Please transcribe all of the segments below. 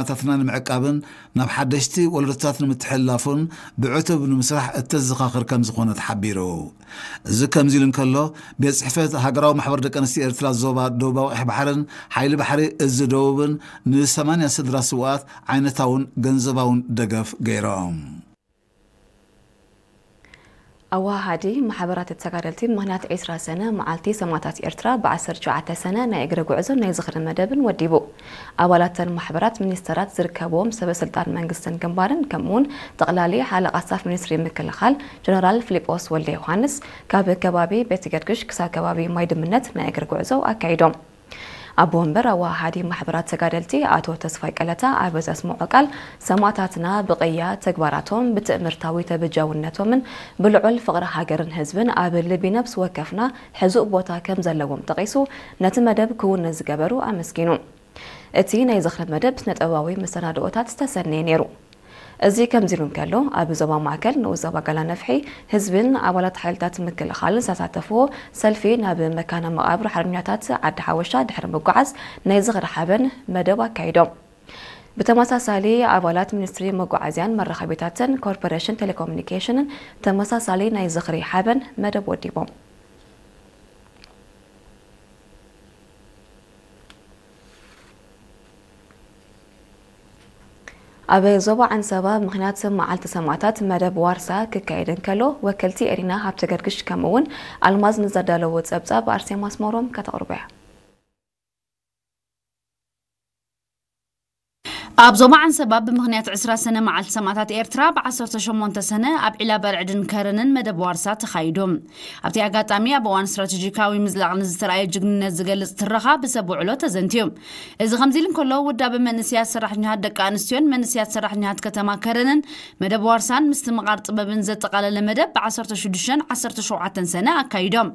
ናታትና ንምዕቃብን ናብ ሓደሽቲ ወለዶታት ንምትሕልላፉን ብዕቱብ ንምስራሕ እተዘኻኽር ከም ዝኾነ ተሓቢሩ። እዚ ከምዚ ኢሉ እንከሎ፣ ቤት ጽሕፈት ሃገራዊ ማሕበር ደቂ ኣንስትዮ ኤርትራ ዞባ ደቡባዊ ቀይሕ ባሕርን ሓይሊ ባሕሪ እዚ ደቡብን ንሰማንያ ስድራ ስውኣት ዓይነታውን ገንዘባውን ደገፍ ገይሮም። ኣወሃሃዲ ማሕበራት ተጋደልቲ ምኽንያት ዕስራ ሰነ መዓልቲ ሰማእታት ኤርትራ ብ ዓሰርተ ትሽዓተ ሰነ ናይ እግሪ ጉዕዞ ናይ ዝኽሪ መደብን ወዲቡ። ኣባላተን ማሕበራት ሚኒስተራት ዝርከብዎም ሰበ ስልጣን መንግስትን ግንባርን ከምኡውን ጠቕላሊ ሓለቓ ስታፍ ሚኒስትሪ ምክልኻል ጀነራል ፊሊጶስ ወልደ ዮሃንስ ካብ ከባቢ ቤት ገርግሽ ክሳብ ከባቢ ማይ ድምነት ናይ እግሪ ጉዕዞ ኣካይዶም። ኣቦ ወንበር ኣወሃሃዲ ማሕበራት ተጋደልቲ ኣቶ ተስፋይ ቀለታ ኣብ ዘስምዖ ቃል፣ ሰማእታትና ብቕያ ተግባራቶም ብትእምርታዊ ተበጃውነቶምን ብልዑል ፍቕሪ ሃገርን ህዝብን ኣብ ልቢ ነብሲ ወከፍና ሕዙእ ቦታ ከም ዘለዎም ጠቒሱ፣ ነቲ መደብ ክውን ንዝገበሩ ኣመስጊኑ። እቲ ናይ ዝኽሪ መደብ ስነ-ጥበባዊ መሰናድኦታት ዝተሰነየ ነይሩ። እዚ ከምዚ ኢሉ እንከሎ፣ ኣብ ዞባ ማእከል ንኡስ ዞባ ጋላ ነፍሒ ህዝብን ኣባላት ሓይልታት ምክልኻልን ዝተሳተፍዎ ሰልፊ ናብ መካነ መቓብር ሓርበኛታት ዓዲ ሓወሻ ድሕሪ ምጉዓዝ ናይ ዝኽሪ ሓበን መደብ ኣካይዶም። ብተመሳሳሊ ኣባላት ሚኒስትሪ መጓዓዝያን መራኸቢታትን ኮርፖሬሽን ቴሌኮሙኒኬሽንን ተመሳሳሊ ናይ ዝኽሪ ሓበን መደብ ወዲቦም። ኣብ ዞባ ዓንሰባ ምኽንያት መዓልቲ ሰማእታት መደብ ዋርሳ ክካየድ እንከሎ፣ ወከልቲ ኤሪና ሃብተ ገርግሽ ከምኡ እውን ኣልማዝ ንዘዳለዎ ጸብጻብ ኣርሴማ ኣስመሮም ከተቕርቦ እያ። ኣብ ዞባ ዓንሰባ ብምኽንያት ዕስራ ሰነ መዓልቲ ሰማእታት ኤርትራ፣ ብ ዓሰርተ ሸሞንተ ሰነ ኣብ ዒላ በርዕድን ከረንን መደብ ዋርሳ ተኻይዱ። ኣብቲ ኣጋጣሚ፣ ኣብ እዋን ስትራቴጂካዊ ምዝላቕ ንዝተራእየ ጅግንነት ዝገልጽ ትረኻ ብሰብ ውዕሎ ተዘንትዩ። እዚ ከምዚ ኢሉ እንከሎ፣ ውዳበ መንእሰያት ሰራሕተኛታት ደቂ ኣንስትዮን መንእሰያት ሰራሕተኛታት ከተማ ከረንን መደብ ዋርሳን ምስትምቓር ጥበብን ዘጠቓለለ መደብ ብ ዓሰርተ ሽዱሽተን ዓሰርተ ሸውዓተን ሰነ ኣካይዶም።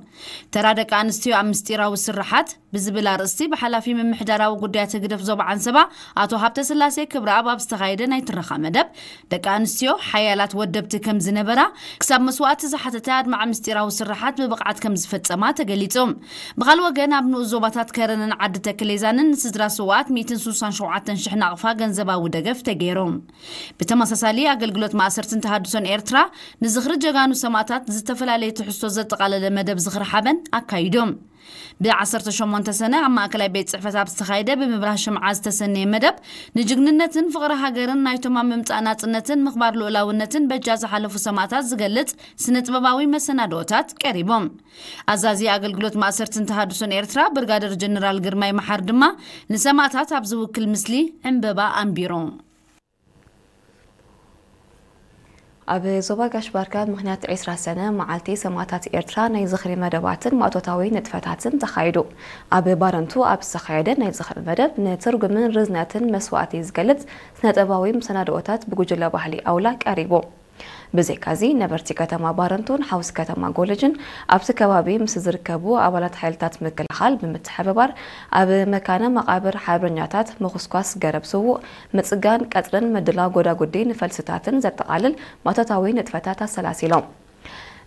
ተራ ደቂ ኣንስትዮ ኣብ ምስጢራዊ ስርሓት ብዝብል ኣርእስቲ ብሓላፊ ምምሕዳራዊ ጉዳያት ህግደፍ ዞባ ዓንሰባ ኣቶ ሃብተስላሴ ክብረኣብ ኣብ ዝተኻየደ ናይ ትረኻ መደብ፣ ደቂ ኣንስትዮ ሓያላት ወደብቲ ከም ዝነበራ፣ ክሳብ መስዋእቲ ዝሓተተ ኣድማዒ ምስጢራዊ ስርሓት ብብቕዓት ከም ዝፈጸማ ተገሊጹ። ብኻልእ ወገን፣ ኣብ ንኡስ ዞባታት ከረንን ዓዲ ተክሌዛንን ንስድራ ስውኣት ሚእትን ስሳን ሸውዓተን ሽሕ ናቕፋ ገንዘባዊ ደገፍ ተገይሩ። ብተመሳሳሊ፣ ኣገልግሎት ማእሰርትን ተሃድሶን ኤርትራ ንዝኽሪ ጀጋኑ ሰማእታት ዝተፈላለየ ትሕዝቶ ዘጠቓለለ መደብ ዝኽሪ ሓበን ኣካይዶም። ብ ዓሰርተ ሸሞንተ ሰነ ኣብ ማእከላይ ቤት ጽሕፈት ኣብ ዝተኻየደ ብምብራህ ሽምዓ ዝተሰነየ መደብ፣ ንጅግንነትን ፍቕሪ ሃገርን ናይቶም ኣብ ምምጻእ ናጽነትን ምኽባር ልኡላውነትን በጃ ዝሓለፉ ሰማእታት ዝገልጽ ስነ-ጥበባዊ መሰናድኦታት ቀሪቦም። ኣዛዚ ኣገልግሎት ማእሰርትን ተሃድሶን ኤርትራ ብርጋደር ጀነራል ግርማይ መሓር ድማ ንሰማእታት ኣብ ዝውክል ምስሊ ዕምበባ ኣንቢሩ። ኣብ ዞባ ጋሽ ባርካ ምኽንያት ዕስራ ሰነ መዓልቲ ሰማእታት ኤርትራ ናይ ዝኽሪ መደባትን ማእቶታዊ ንጥፈታትን ተኻይዱ። ኣብ ባረንቱ ኣብ ዝተኻየደ ናይ ዝኽሪ መደብ፣ ንትርጉምን ርዝነትን መስዋእቲ ዝገልጽ ስነ-ጥበባዊ መሰናድኦታት ብጉጅለ ባህሊ ኣውላ ቀሪቡ። ብዘይካዚ፣ ነበርቲ ከተማ ባረንቱን ሓውሲ ከተማ ጎለጅን ኣብቲ ከባቢ ምስ ዝርከቡ ኣባላት ሓይልታት ምክልኻል ብምትሕብባር፣ ኣብ መካነ መቓብር ሓርበኛታት ምኹስኳስ ገረብ ስዉእ፣ ምጽጋን ቀጽርን ምድላው ጎዳጉዲ ንፈልስታትን ዘጠቓልል ማእቶታዊ ንጥፈታት ኣሰላሲሎም።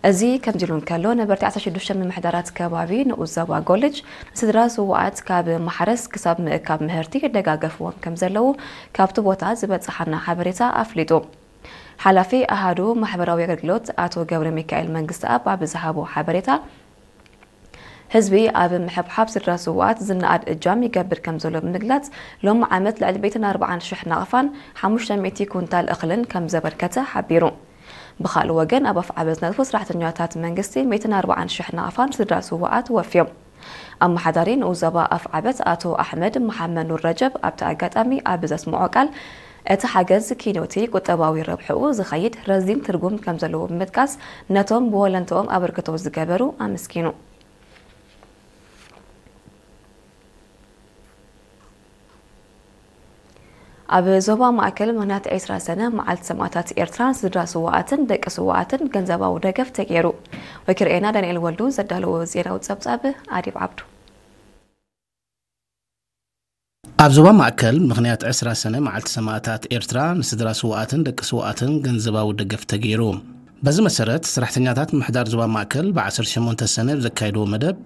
እዚ ከምዚ ኢሉ እንከሎ፣ ነበርቲ ዓሰርተ ሽዱሽተ ምምሕዳራት ከባቢ ንኡስ ዞባ ጎለጅ ንስድራ ስዉኣት ካብ ማሕረስ ክሳብ ምእካብ ምህርቲ ደጋገፍዎም ከም ዘለዉ ካብቲ ቦታ ዝበጽሓና ሓበሬታ ኣፍሊጡ። ሓላፊ ኣሃዱ ማሕበራዊ ኣገልግሎት ኣቶ ገብረ ሚካኤል መንግስተኣብ ኣብ ዝሃቦ ሓበሬታ፣ ህዝቢ ኣብ ምሕብሓብ ስድራ ስዉኣት ዝነኣድ እጃም ይገብር ከም ዘሎ ብምግላጽ፣ ሎም ዓመት ልዕሊ ሚእትን ኣርባዓን ሽሕ ናቕፋን ሓሙሽተ ሚእቲ ኩንታል እኽልን ከም ዘበርከተ ሓቢሩ። ብኻልእ ወገን፣ ኣብ ኣፍዓበት ዝነጥፉ ሰራሕተኛታት መንግስቲ ሚእትን ኣርባዓን ሽሕ ናቕፋን ስድራ ስዉኣት ወፍዮም። ኣመሓዳሪ ንኡስ ዞባ ኣፍዓበት ኣቶ ኣሕመድ መሓመድ ኑር ረጀብ ኣብቲ ኣጋጣሚ ኣብ ዘስምዖ ቃል፣ እቲ ሓገዝ ኪኖቲ ቁጠባዊ ረብሕኡ ዝኸይድ ረዚን ትርጉም ከም ዘለዎ ብምጥቃስ፣ ነቶም ብወለንትኦም ኣበርክቶ ዝገበሩ ኣመስጊኑ። ኣብ ዞባ ማእከል ምኽንያት ዕስራ ሰነ መዓልቲ ሰማእታት ኤርትራ ስድራ ስውኣትን ደቂ ስውኣትን ገንዘባዊ ደገፍ ተገይሩ። ወኪርኤና ዳንኤል ወልዱ ዘዳለዎ ዜናዊ ጸብጻብ ኣዲብ ዓብዱ። ኣብ ዞባ ማእከል ምኽንያት ዕስራ ሰነ መዓልቲ ሰማእታት ኤርትራ ንስድራ ስውኣትን ደቂ ስውኣትን ገንዘባዊ ደገፍ ተገይሩ። በዚ መሰረት፣ ሰራሕተኛታት ምምሕዳር ዞባ ማእከል ብ ዓሰርተ ሸሞንተ ሰነ ኣብ ዘካየድዎ መደብ፣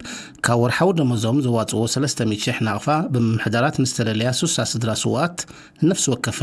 ካብ ወርሓዊ ደሞዞም ዘዋጽእዎ ሰለስተ ሚእቲ ሽሕ ናቕፋ፣ ብምምሕዳራት ንዝተለለያ ሱሳ ስድራ ስውኣት፣ ንነፍሲ ወከፍ